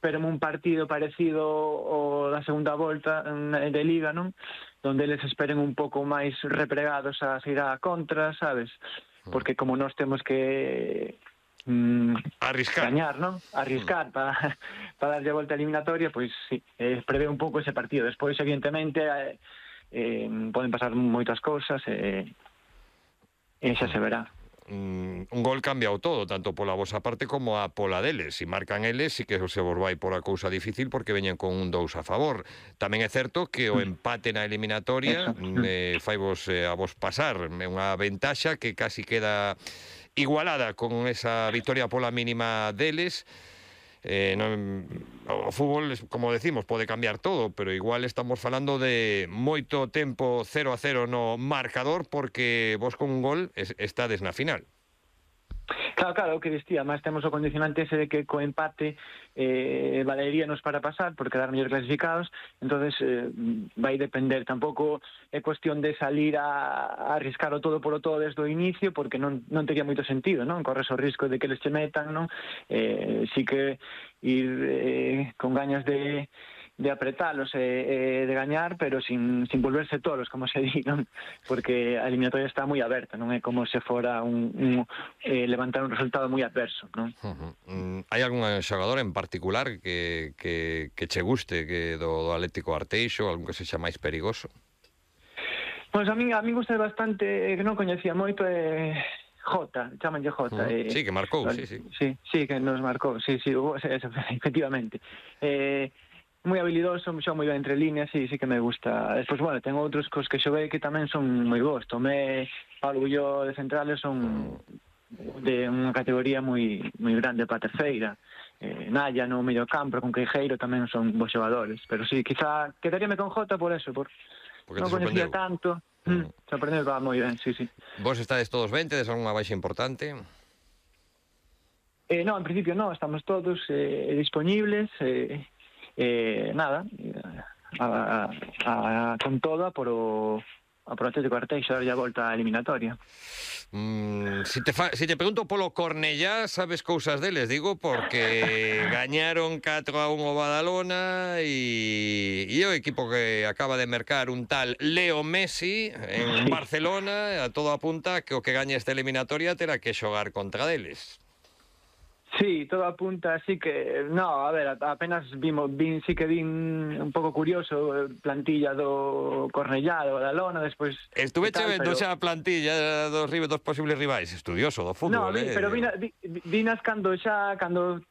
esperen un partido parecido ao da segunda volta de Liga, non? Donde eles esperen un pouco máis repregados a sair a contra, sabes? Porque como nós temos que arriscar, gañar, non? Arriscar para darlle a volta eliminatoria, pois sí, prevé un pouco ese partido. Despois, evidentemente, poden pasar moitas cousas e xa se verá. Un gol cambiao todo, tanto pola vosa parte como a pola deles. Se marcan eles, sí que se vos vai pola cousa difícil porque veñen con un 2 a favor. Tamén é certo que o empate na eliminatoria faivos a vos pasar. É unha ventaxa que casi queda igualada con esa victoria pola mínima deles. O fútbol, como decimos, pode cambiar todo, pero igual estamos falando de moito tempo 0-0 no marcador porque vos con un gol estades na final. Claro, o que distía, máis temos o condicionante ese de que co empate valeríanos para pasar, por quedar mellor clasificados, entonces vai depender, tampouco é cuestión de salir a arriscar o todo polo todo desde o inicio, porque non tería moito sentido, non? Corres o risco de que les che metan, non? Si que ir con gañas de apretalos e de gañar, pero sin volverse tolos, como se di, non? Porque a eliminatoria está moi aberta, non é como se fora levantar un resultado moi adverso, non? Hai algún xogador en particular que che guste que do Atlético Arteixo, algún que sexa máis perigoso? Pois a min gusta bastante, que non coñecía moito, Jota, chamanlle Jota. Sí, que marcou, sí. Sí, que nos marcou, sí, efectivamente. Moi habilidoso, xoga moi ben entre líneas, sí que me gusta. Despois, bueno, ten outros cos que xoguei que tamén son moi bons. Tomé, Pablo Bulló de centrales son de unha categoría moi grande para a terceira. Naya no medio campo, con Queijeiro tamén son bons xogadores. Pero sí, quizá quedaríame con Jota por eso, porque non conocía tanto. Sorprendeu, va moi ben, sí. Vos estades todos ben, tedes algunha baixa importante? No, en principio no, estamos todos disponibles, nada, con toda por o Atlético Arteixo darlle a volta á eliminatoria. Si te pregunto polo Cornellá, sabes cousas deles, digo, porque gañaron 4-1 o Badalona e o equipo que acaba de mercar un tal Leo Messi en Barcelona, a todo apunta que o que gaña esta eliminatoria terá que xogar contra deles. Sí, todo apunta, así que, no, a ver, apenas vin un pouco curioso plantilla do Cornellá, do Badalona, despois... Estuve vendo xa a plantilla dos posibles rivais, estudioso do fútbol, pero vinas cando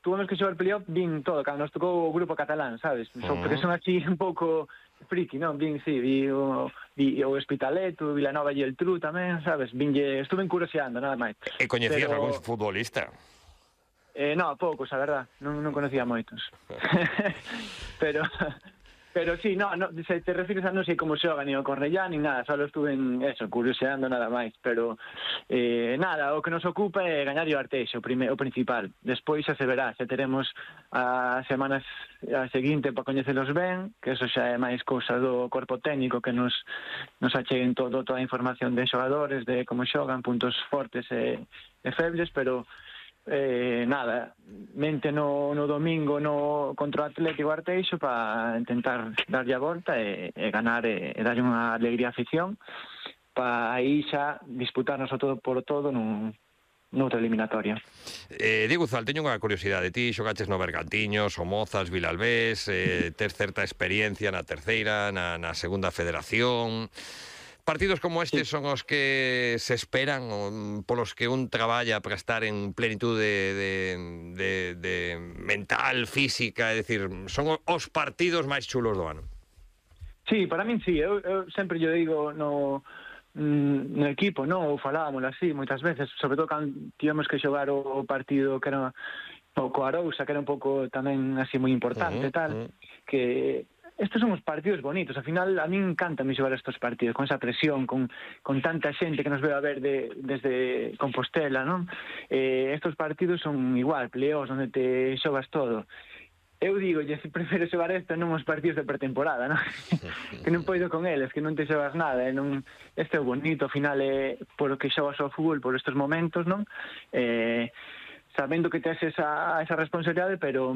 tuvemos que xogar playoff, vin todo, cando nos tocou o grupo catalán, sabes? Porque son así un pouco friki, non? Vi o Hospitalet, o Vilanova e el Tru tamén, sabes? Estuve curioseando, nada máis. E coñecías algún futbolista? No, poucos, a verdad, non conocía moitos. pero sí, no, se te refires a non sei como xoga ni o Cornellá ni nada, só estuve curioseando nada máis, pero nada, o que nos ocupa é gañar o Arteixo, o principal. Despois xa se verá, xa teremos as semanas a seguinte para coñecelos ben, que eso xa é máis cousa do corpo técnico que nos acheguen toda a información de xogadores, de como xogan, puntos fortes e febles, pero nada, mente no domingo contra o Atlético Arteixo para intentar darlle a volta e ganar e darlle unha alegría á afición para aí xa disputarnos o todo por todo noutra eliminatoria. Diego Zal, teño unha curiosidade. Ti xogaches no Bergantiños, Somozas, Vilalbés, tes certa experiencia na terceira, na segunda federación. Partidos como estes son os que se esperan, polos que un traballa para estar en plenitud de mental, física, é dicir, son os partidos máis chulos do ano. Sí, para min sí, eu sempre lle digo no equipo, ou falábamos así moitas veces, sobre todo cando tivemos que xogar o partido que era o Arousa, que era un pouco tamén así moi importante, que estes son os partidos bonitos. Al final, a mí encanta xogar estes partidos, con esa presión, con tanta xente que nos ve a ver desde Compostela, non? Estes partidos son igual, pleos, onde te xogas todo. Eu digo, prefiro xogar non os partidos de pretemporada, non? Que non poido con eles, que non te xogas nada, este é bonito, ao final é por o que xogas ao fútbol por estes momentos, non? Sabendo que tes esa responsabilidade, pero